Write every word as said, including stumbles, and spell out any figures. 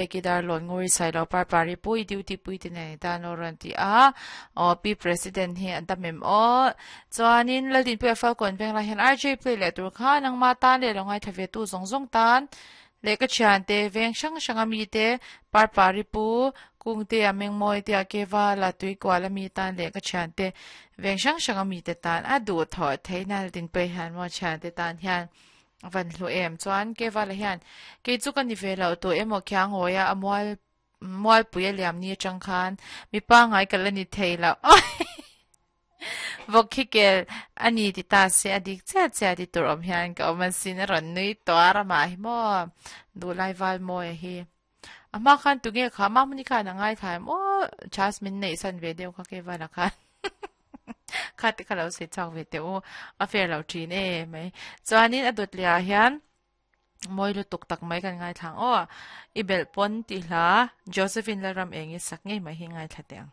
Peki Darlawn Nguri Sailo Parpari pu i duty pui te nen tan aw rawn ti a aw Pi President hi an tam em aw chuanin Laldinpuia Falkawn Venglai hian R J play leh tur kha nangma tan leh lo ngaithla ve tu zawng zawng tan leh ka thian te veng hrang hrang a mi te Parpari pu Kungte a Mengmawi te a Keva la tui kual a mi tan leh ka thian te veng hrang hrang a mi te tan a duh thawh theihna Laldinpuia hian maw thian te tan hian A van hlu em chuan Kevala hian kei chu ka ni ve loh tawh emaw khiang hawi a, a mual mualpui a liam ni atang khan mipa ngai ka la ni thei loh vawk khi kel a ni ti ta se a dik chiah chiah ti tur awm hian ka awm asin a rawn nui tuar a mah hi maw duhlai val mawi a hi a hma khan tunge kha mahmuni khan a ngaithla em aw chas min neih san ve deuh kha Kevala khan. Kha te kha lo sawi chhuak ve teh u, a fair lo thin e mai. Chuanin a dawt leh ah hian mawi lutuk tak mai kan ngaithla ang aw. I belh pawn tih hla Josephine Lalram eng i sak ngei mai hi ngaithla teh ang.